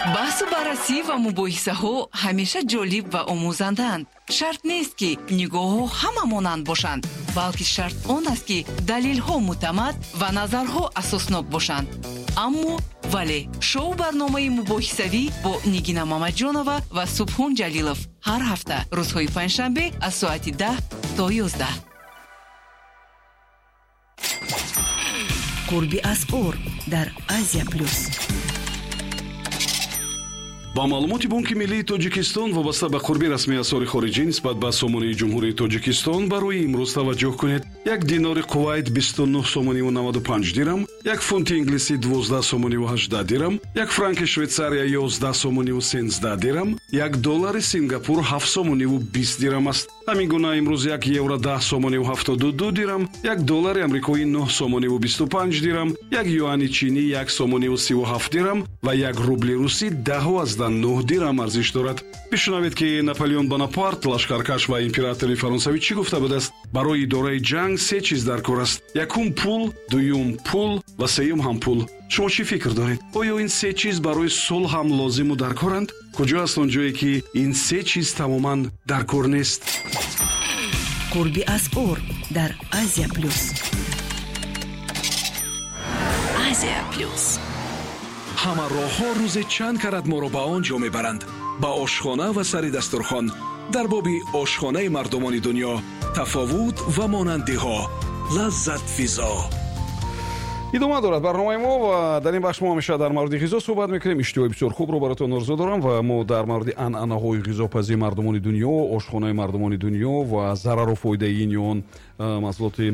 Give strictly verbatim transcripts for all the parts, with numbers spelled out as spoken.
Баҳсу баррасӣ ва мубоҳисаҳо ҳамеша ҷолиб ва омӯзандаанд. Шарт нест, ки нигоҳҳо ҳама монанд бошанд, балки шарт он аст, ки далелҳо мӯътамад ва назарҳо асоснок бошанд. Аммо вале шоу барномаи мубоҳисавӣ бо Нигина Мамаҷонова ва Субҳон Ҷалилов ҳар ҳафта рӯзҳои панҷшанбе аз соати даҳ то ёздаҳ. Қурби асъор дар Азия Плюс. Ба маълумоти Бонки Миллии Тоҷикистон вобаста ба қурби расмии асъори хориҷӣ нисбат ба сомонии Ҷумҳурии Тоҷикистон барои имрӯз таваҷҷӯҳ кунед. Як динори Кувайт бисту нӯҳ сомониву наваду панҷ дирам, як фунти инглисӣ дувоздаҳ сомониву ҳаждаҳ дирам, як франки Швейтсария ёздаҳ сомониву сенздаҳ дирам, як доллари Сингапур ҳафт сомониву бист дирам аст. Ҳамин гуна имрӯз як евро даҳ сомониву ҳафтоду ду дирам, як доллари амрикоӣ нӯҳ сомониву бисту панҷ дирам, як юани чинӣ як сомониву сиву ҳафт дирам ва як рубли русӣ даҳу аздаҳ нӯҳ дирам арзиш дорад. Бишунавед, ки Наполеон Бонапарт, лашкаркаш ва императори фаронсавӣ, чӣ гуфта будааст? Барои идораи ҷанг се чиз дар кор аст: якум пул, дуюм пул ва сеюм ҳам пул. Шумо чӣ фикр доред? Оё ин се чиз барои сулҳ ҳам лозиму дар коранд? Куҷо аст он ҷое, ки ин се чиз тамоман дар кор нест? Қурби асъор дар Азия Плюс. Азия Плюс. Ҳама роҳҳо рӯзе чанд карат моро ба он ҷо мебаранд, ба ошхона ва сари дастурхон. Дар боби ошхонаи мардумони дунё тафовут ва монандиҳо, лаззатфизо. Идома дорад барномаи мо ва дар ин бахш мо ҳамеша дар мавриди ғизо суҳбат мекунем. Иштиҳои бисёр хубро баротон орзу дорам ва мо дар мавриди анъанаҳои ғизопазии мардумони дунё, ошхонаи мардумони дунё ва зарару фоидаи ин ё он маҳсулоти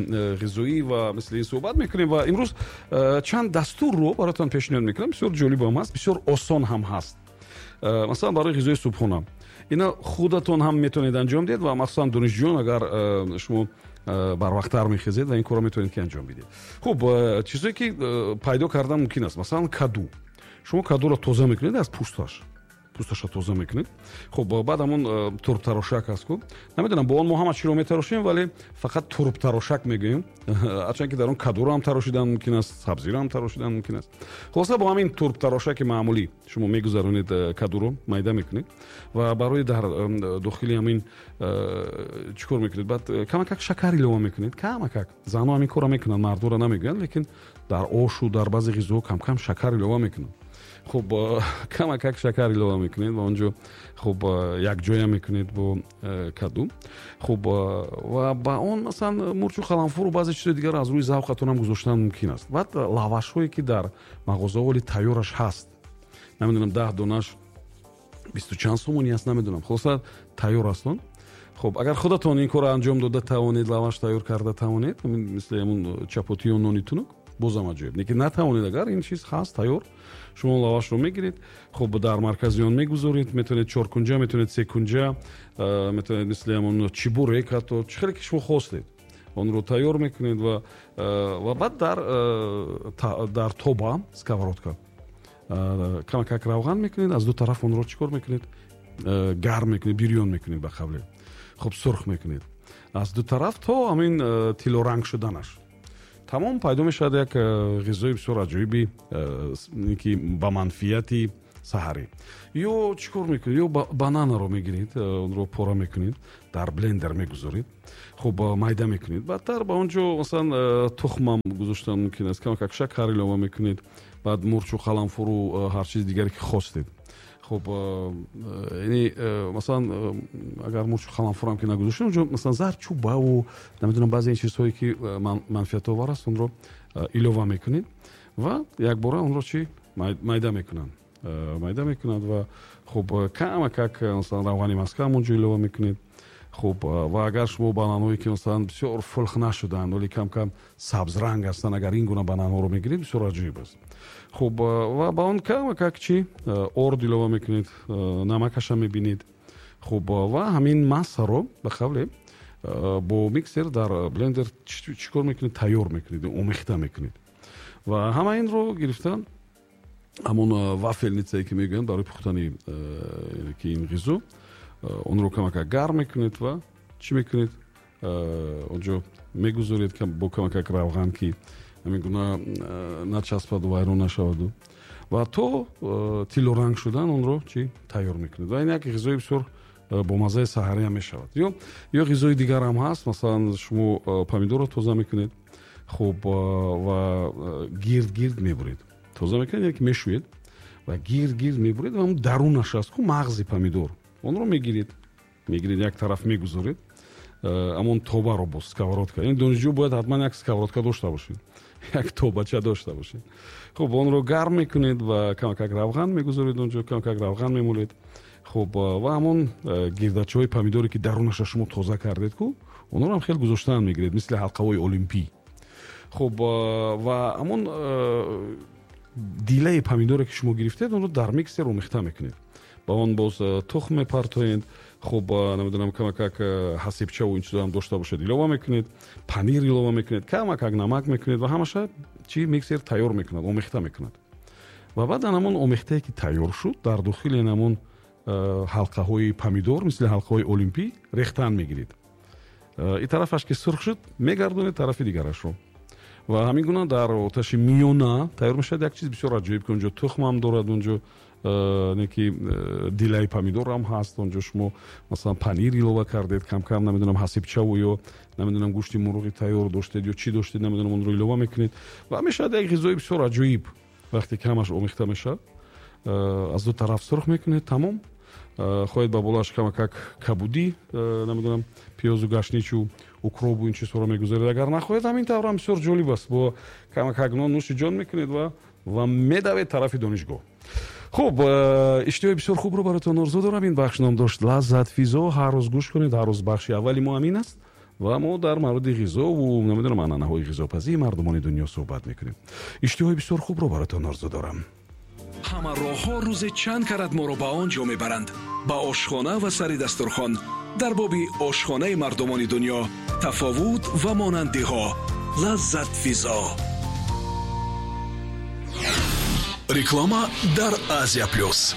ғизоӣ ва мисли ин суҳбат мекунем. Ва имрӯз чанд дастурро баротон пешниҳод мекунам. Бисёр ҷолиб ҳам ҳаст, бисёр осон ҳам ҳаст. Масалан, барои ғизои субҳона ина худатон ҳам метавонед анҷом диҳед ва махсусан донишҷӯён, агар шумо барвақттар мехезед ва ин корро метавонед ки анҷом бидиҳед. Хуб, чизое ки пайдо кардан мумкин аст, масалан каду. Шумо кадуро тоза мекунед аз пӯсташ, пӯсташа тоза мекунед. Хуб, баъд ҳамон турбтарошак аст ку, намедонам, бо он мо ҳама чиро метарошем, вале фақат турбтарошак мегӯем, ҳарчанд ки дар он кадуро ҳам тарошидан мумкин аст, сабзиро ҳам тарошидан мумкин аст. Хулоса, бо ҳамин турбтарошаки маъмулӣ шумо мегузаронед кадуро, майда мекунед ва барои дар дохили ҳамин чӣ кор мекунед? Баъд камакак шакар илова мекунед, камакак. Занҳо ҳамин корро мекунанд, мардуро намегӯянд, лекин дар ошу дар баъзе ғизоҳо камкам шакар илова мекунанд. Хуб, камакак шакар илова мекунед ва онҷо хуб якҷоя мекунед бо каду. Хуб, ва ба он масалан мурчу қаламфуру баъзе чизҳои дигар аз рӯи завқатон ҳам гузоштан мумкин аст. Баъд лавашҳое ки дар мағозаҳо ҳоли тайёраш ҳаст, намедонам, даҳ донаш бисту чанд сомонӣ аст, намедонам, хулоса тайёр аст он. Хуб, агар худатон ин корро анҷом дода тавонед, лаваш тайёр карда тавонед, мисли ҳамун чапотию нони тунук, бозам аҷоиб. Лекин натавонед, агар ин чиз ҳаст тайёр, шумо лавашро мегиред, хуб дар маркази он мегузоред, метавонед чоркунҷа, метавонед секунҷа, метавонед мисли ҳамон чибурек, ҳатто чӣ хеле ки шумо хостед онро тайёр мекунед ва ва баъд дар дар тоба, сковородка, камакак равған мекунед, аз ду тараф онро чӣ кор мекунед? Гарм мекунед, бирён мекунед, ба қавле хуб сурх мекунед аз ду тараф то ҳамин тиллоранг шуданаш. Тамом, пайдо мешавад як ғизои бисёр аҷоиби, ки ба манфиати саҳарӣ. Ё чӣ кор мекунед? Ё бананаро мегиред, онро пора мекунед, дар блендер мегузоред, хуб майда мекунед, баъдтар ба он ҷо масалан тухмам гузоштан мумкин аст, камакак шакар илова мекунед, баъд мурчу қаламфуру ҳар чизи дигаре ки хостед. Хуб, яъне масалан агар мурчу қаламфурам ки нагузоштем, онҷо масалан зардчӯбаву намедонам баъзе ин чизҳое ки манфиатовар аст, онро илова мекунед ва якбора онро чӣ майда мекунанд, майда мекунанд ва хуб камакак масалан равғани маска ҳам онҷо илова мекунед. Хуб, ва агар шумо бананҳое ки масалан бисёр фулх нашуданд, вале кам-кам сабзранг ҳастанд, агар ин гуна бананҳоро мегиред, бисёр аҷоиб аст. Хуб, ва ба он камакак чӣ орд илова мекунед, намакаша мебинед. Хуб, ва ҳамин массаро ба қавле бо миксер дар блендер чӣ кор мекунед? Тайёр мекунед, омехта мекунед ва ҳама инро гирифта ҳамон вафелницае ки мегӯянд барои пухтани ки ин ғизо, онро камакак гарм мекунед ва чӣ мекунед? Онҷо мегузоред бо камакак равған, ки ҳамин гуна начаспаду вайрон нашаваду. Ва то тиллоранг шудан онро чӣ тайёр мекунед. Ва ин як ғизои бисёр бо маззаи саҳарӣ ҳам мешавад. Ё ё ғизои дигар ҳам ҳаст, масалан шумо помидорро тоза мекунед, хуб, ва гирд гирд мебуред. Тоза мекунед, яъне ки мешӯед ва гирд гирд мебуред ва он дарунаш аст ку мағзи помидор. Онро мегиред, мегиред як тараф мегузоред, амон тобаро боз сковородка. Ин донишҷӯ бояд ҳатман як сковородка дошта бошед, як тобача дошта бошед. Хуб, онро гарм мекунед ва камакак равған мегузоред онҷо, камакак равған мемолед. Хуб, ва ҳамон гирдачаҳои помидоре ки дарунаша шумо тоза кардед ку, онҳоро ҳам хеле гузоштан мегиред, мисли ҳалқаҳои олимпӣ. Хуб, ва ҳамон дилаи помидоре ки шумо гирифтед, онро дар миксер омехта мекунед. Ба он боз тухм мепартоед. Хуб, намедонам, камакак ҳасибчаву ин чизо ҳам дошта бошед, илова мекунед, панир илова мекунед, камакак намак мекунед ва ҳамаша чи миксер тайёр мекунад, омехта мекунад. Ва баъдан ҳамон омехтае ки тайёр шуд, дар дохили ҳамон ҳалқаҳои помидор, мисли ҳалқаҳои олимпӣ, рехтан мегиред. Ин тарафаш ки сурх шуд, мегардонед тарафи дигарашро. Ва ҳамин гуна дар оташи миёна тайёр мешавад як чиз бисёр аҷоиб, ки онҷо тухм ҳам дорад, онҷо неки дилаи помидор ҳам ҳаст, онҷо шумо масалан панир илова кардед, кам-кам намедонам ҳасибчаву ё намедонам гӯшти мурғи тайёр доштед ё чӣ доштед, намедонам, онро илова мекунед ва мешавад як ғизои бисёр аҷоиб. Вақте ки ҳамаш омехта мешавад, аз ду тараф сурх мекунед, тамом. Хоҳед ба болоаш камакак кабудӣ, намедонам, пиёзу гашничу укробу ин чизҳоро мегузоред. Агар нахоҳед, ҳамин тавр ҳам бисёр ҷолиб аст. Бо камакак нон нӯши ҷон мекунед ва ва медавед тарафи донишгоҳ. Хуб, иштиҳои бисёр хубро баротон орзу дорам. Ин бахш ном дошт Лаззат физо. Ҳар рӯз гӯш кунед, ҳар рӯз бахши аввали мо ҳамин аст ва мо дар мавриди ғизову намедонам анъанаҳои ғизопазии мардумони дунё суҳбат мекунем. Иштиҳои бисёр хубро баротон орзу дорам. Ҳама роҳҳо рӯзе чанд карат моро ба он ҷо мебаранд, ба ошхона ва сари дастурхон. Дар боби ошхонаи мардумони дунё тафовут ва монандиҳо. Лаззат физо. Реклама дар Азия Плюс.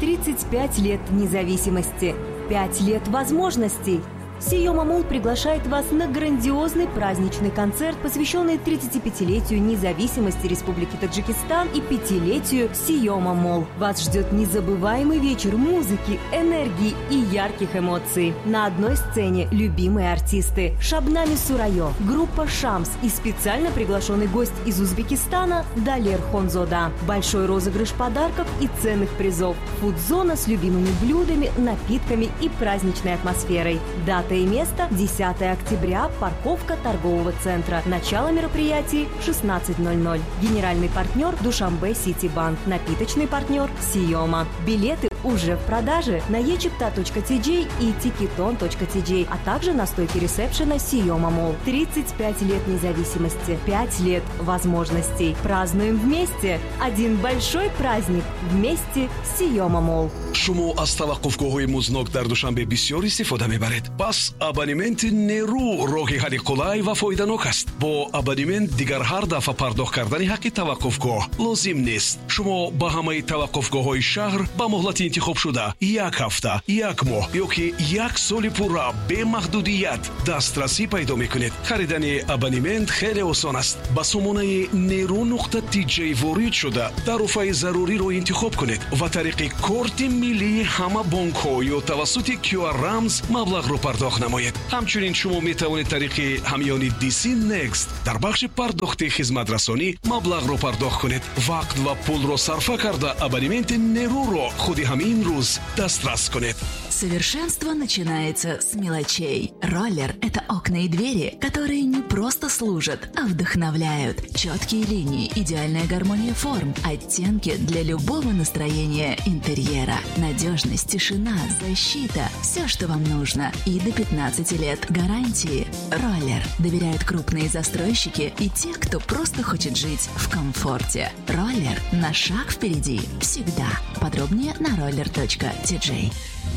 тридцать пять лет независимости, пять лет возможностей. Сиёма Молл приглашает вас на грандиозный праздничный концерт, посвященный тридцатипятилетию независимости Республики Таджикистан и пятилетию Сиёма Молл. Вас ждет незабываемый вечер музыки, энергии и ярких эмоций. На одной сцене любимые артисты Шабнами Сурайо, группа «Шамс» и специально приглашенный гость из Узбекистана Далер Хонзода. Большой розыгрыш подарков и ценных призов. Фудзона с любимыми блюдами, напитками и праздничной атмосферой. Дата и место – десятое октября, парковка торгового центра. Начало мероприятий – шестнадцать ноль ноль. Генеральный партнер – Душанбе Сити Банк. Напиточный партнер – Сиёма. Билеты уже в продаже на е чипта точка ти джей и тикетон точка ти джей, а также на стойке ресепшена Сиёма Молл. тридцать пять лет независимости, пять лет возможностей. Празднуем вместе! Один большой праздник вместе с Сиёма Молл. Шумо аз таваққуфгоҳҳои музнок дар Душанбе бисёр истифода мебаред. Пас абонементи нерӯ роҳи ҳалли қулай ва фоиданок аст. Бо абонемент дигар ҳар дафъа пардохт кардани ҳаққи таваққуфгоҳ лозим нест. Шумо ба ҳамаи таваққуфгоҳҳои шаҳр ба муҳлати интихобшуда як ҳафта, як моҳ ё ки як соли пурра бемаҳдудият дастрасӣ пайдо мекунед. Харидани абонемент хеле осон аст. Ба сомонаи нерӯ нуқта ти ҷей ворид шуда тарофаи заруриро интихоб кунед ва тариқи корти миллии ҳама бонкҳо ё тавассути кю ар рамз маблағро пардохт намоед. Ҳамчунин шумо метавонед тариқи ҳамёни ди си Next дар бахши пардохти хизматрасонӣ маблағро пардохт кунед. Вақт ва пулро сарфа карда абонементи нерӯро худи ҳамин рӯз дастрас кунед. Совершенство начинается с мелочей. Роллер – это окна и двери, которые не просто служат, а вдохновляют. Четкие линии, идеальная гармония форм, оттенки для любого настроения интерьера. Надежность, тишина, защита – все, что вам нужно. И до пятнадцати лет гарантии. Роллер доверяют крупные застройщики и те, кто просто хочет жить в комфорте. Роллер на шаг впереди всегда. Подробнее на роллер точка ти джей.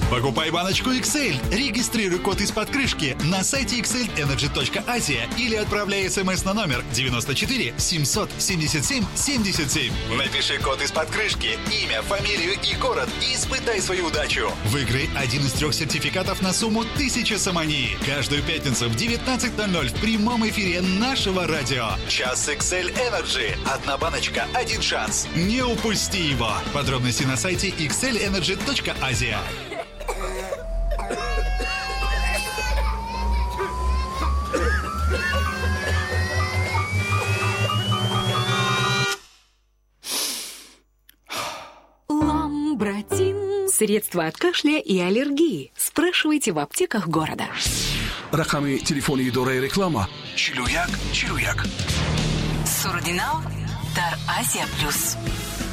Покупай баночку икс эль, регистрируй код из-под крышки на сайте икс эль энерджи точка азия или отправляй смс на номер девяносто четыре семьсот семьдесят семь семьдесят семь. Напиши код из-под крышки, имя, фамилию и город и испытай свою удачу. Выиграй один из трех сертификатов на сумму тысяча сомони. Каждую пятницу в девятнадцать ноль ноль в прямом эфире нашего радио. Час икс эль Energy. Одна баночка, один шанс. Не упусти его. Подробности на сайте икс эль энерджи точка азия. Ламбратин. Средства от кашля и аллергии. Спрашивайте в аптеках города. Рақами телефони идораи реклама чилу як чилу як. Суруди нав дар Азия Плюс.